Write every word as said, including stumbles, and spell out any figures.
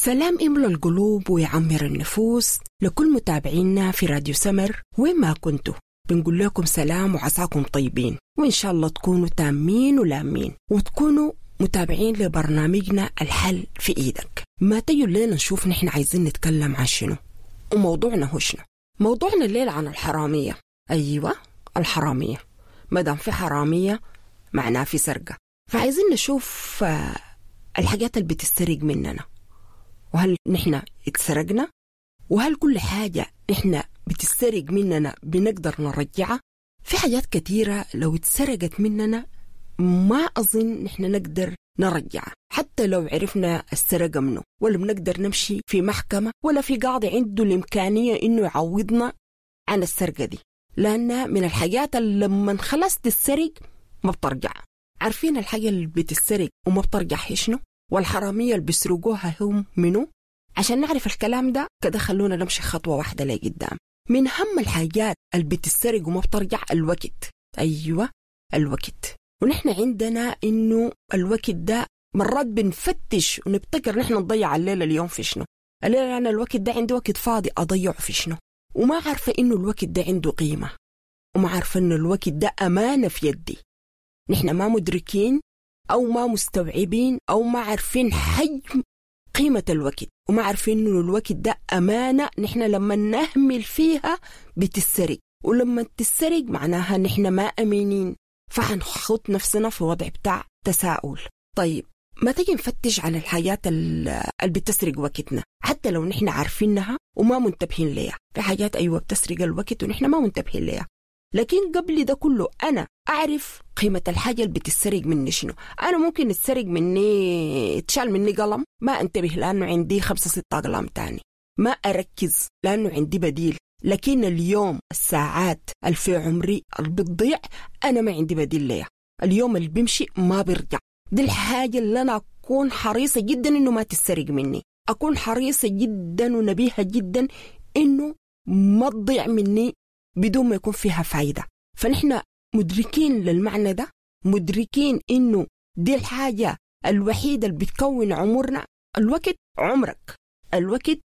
سلام يملى القلوب ويعمر النفوس لكل متابعينا في راديو سمر وين ما كنتوا. بنقول لكم سلام وعساكم طيبين، وإن شاء الله تكونوا تامين ولامين وتكونوا متابعين لبرنامجنا الحل في إيدك. ما تيجوا الليلة نشوف نحن عايزين نتكلم عن شنو وموضوعنا هو شنو. موضوعنا الليلة عن الحرامية. أيوة الحرامية، مادام في حرامية معناه في سرقة، فعايزين نشوف الحاجات اللي بتسترق مننا، وهل نحن اتسرقنا، وهل كل حاجة نحن بتسترق مننا بنقدر نرجعها. في حاجات كتيرة لو اتسرقت مننا ما أظن نحن نقدر نرجعها، حتى لو عرفنا السرقة منه، ولا بنقدر نمشي في محكمة ولا في قاضي عنده الإمكانية إنه يعوضنا عن السرقة دي، لأنها من الحاجات اللي لما خلاص تتسرق ما بترجع. عارفين الحاجة اللي بتتسرق وما بترجع هي شنو؟ والحرامية اللي بيسرقوها هم منو؟ عشان نعرف الكلام ده كده خلونا نمشي خطوة واحدة لقدام. من أهم الحاجات اللي بتتسرق وما بترجع الوقت. أيوة الوقت. ونحن عندنا إنه الوقت ده مرات بنفتش ونبتكر نحن نضيع الليلة اليوم في شنو. الليلة أنا الوقت ده عندي وقت فاضي أضيعه في شنو، وما عارفة إنه الوقت ده عنده قيمة، وما عارفة إنه الوقت ده أمانة في يدي. نحن ما مدركين أو ما مستوعبين أو ما عارفين حجم قيمة الوقت، وما عارفين إنه الوقت ده أمانة نحن لما نهمل فيها بتسرق، ولما تسرق معناها نحن ما أمينين، فحنخط نفسنا في وضع بتاع تساؤل. طيب ما تيجي نفتش عن الحاجات اللي بتسرق وقتنا حتى لو نحن عارفينها وما منتبهين ليها. في حاجات أيوة بتسرق الوقت ونحن ما منتبهين ليها، لكن قبل ده كله أنا أعرف قيمة الحاجة اللي بتسرق مني شنو. أنا ممكن تسرق مني، تشال مني قلم ما أنتبه لأنه عندي خمسة ستة أقلام تاني، ما أركز لأنه عندي بديل. لكن اليوم الساعات اللي في عمري اللي بتضيع أنا ما عندي بديل ليها. اليوم اللي بيمشي ما بيرجع. دي الحاجة اللي أنا أكون حريصة جدا إنه ما تسرق مني، أكون حريصة جدا ونبيهة جدا إنه ما تضيع مني بدون ما يكون فيها فايدة. فنحن مدركين للمعنى ده، مدركين إنه دي الحاجة الوحيدة اللي بتكون عمرنا. الوقت عمرك، الوقت